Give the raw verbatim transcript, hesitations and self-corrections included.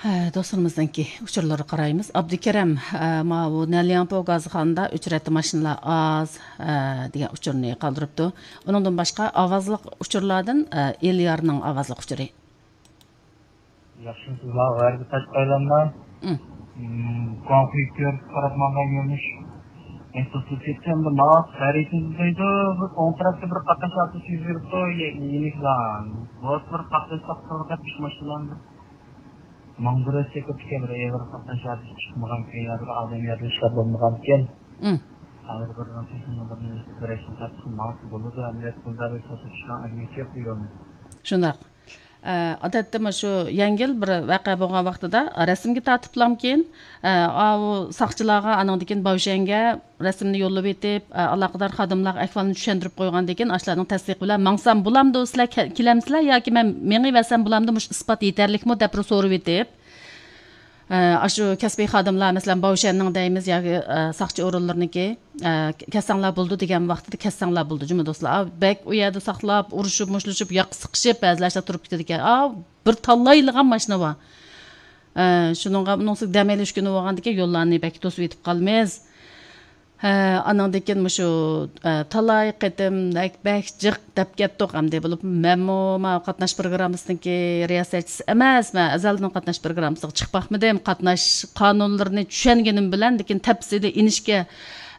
ئە، دوستلىرىمىزنىڭكى ئۇچۇرلىرىغا قارايمىز. ئابدۇكېرەم، ئە، ماۋۇ نەنلياڭپو گازخانىدا ئۆچرەتتە ماشىنىلار ئاز، ئە، دېگەن ئۇچۇرنى قالدۇرۇپتۇ. ئۇنىڭدىن باشقا ئاۋازلىق ئۇچۇرلاردىن، ئە، ئېليارنىڭ ئاۋازلىق ئۇچۇرى. ياخشىمۇسىز، ماۋۇ غەربىي تاشقى ئايلانما. ئۇم. ئۇم، گۇاڭخۇي كۆرۈپ قاراپ ماڭغان يۆنىلىش. ئەسلىگە كەتسەمدە ماۋۇ خەرىتىدە دەيدۇ، بىر ئوڭ تەرەپتە بىر قاتناش ھادىسىسى يۈز بېرىپتۇ، يە-، يېنىكلا. بۇ بىر قاتناش تاپقىلى دەپ ئۈچ ماشىنىلارنى ماڭدۇرۇپ چېكىپ كەلدى. ئېغىر قاتناش ھادىسىسى چىقمىغان كەن، يا بىر ئادەم يارىلىنىشلار بولمىغان كەن. ئۇم. ھازىر بىر بىرەيسىنى تاپسا ماڭسا بولىدۇ، ئەمدى پۇلدا بىر توسۇپ چىققان ئەگمىسى يوق دېگەن. شۇنداق. ئە، ئادەتتە مۇشۇ يەڭگىل بىر ۋەقە بولغان ۋاقتىدا رەسىمگە تارتىپلامكىن، ئە، ئاۋۇ ساقچىلارغا، ئانىڭدىن كېيىن باۋشيەنگە رەسىمنى يوللىۋېتىپ، ئە، ئالاقىدار خادىملارغا ئەھۋالنى چۈشەندۈرۈپ قويغاندىن كېيىن، ئاشۇلارنىڭ تەستىقى بىلەن ماڭسام بولامدۇ، سىلەر كە-، كېلەمسىلەر ياكى مەن مېڭىۋەرسەم بولامدۇ، مۇشۇ ئىسپات يېتەرلىكمۇ دەپ بىر سورىۋېتىپ، ئە، ئاشۇ كەسپىي خادىملار، مەسىلەن، باۋشيەننىڭ دەيمىز ياكى، ئە، ساقچى ئورۇنلىرىنىڭكى، ئە، كەلسەڭلار بولىدۇ دېگەن ۋاقتىدا كەلسەڭلار بولىدۇ جۇمۇ دوستلار. ئا، بەك ئۇ يەردە ساقلاپ، ئۇرۇشۇپ، مۇشتلىشىپ، ياقا سىقىشىپ، بەزىلەر ئىشلار تۇرۇپ كېتىدىكەن. ئا، بىر تاللايلىغان ماشىنا بار. ئە، شۇنىڭغا، ئۇنىڭ ئۈستىگە دەم ئېلىش كۈنى بولغاندىكىن يوللارنى بەك توسۇۋېتىپ قالىمىز. ھە، ئانىڭدىن كېيىن مۇشۇ، ئە، تالاي قېتىم بەك، بەك جىق دەپ كەتتۇق ئەمدى. بولۇپ مەنمۇ ماۋۇ قاتناش پروگراممىسىنىڭكى رىياسەتچىسى ئەمەس، مەن ئەزەلدىن قاتناش پروگراممىسىغا چىقىپ باقمىدىم. قاتناش قانۇنلىرىنى چۈشەنگىنىم بىلەن، لېكىن تەپسىلىي ئىنىشكە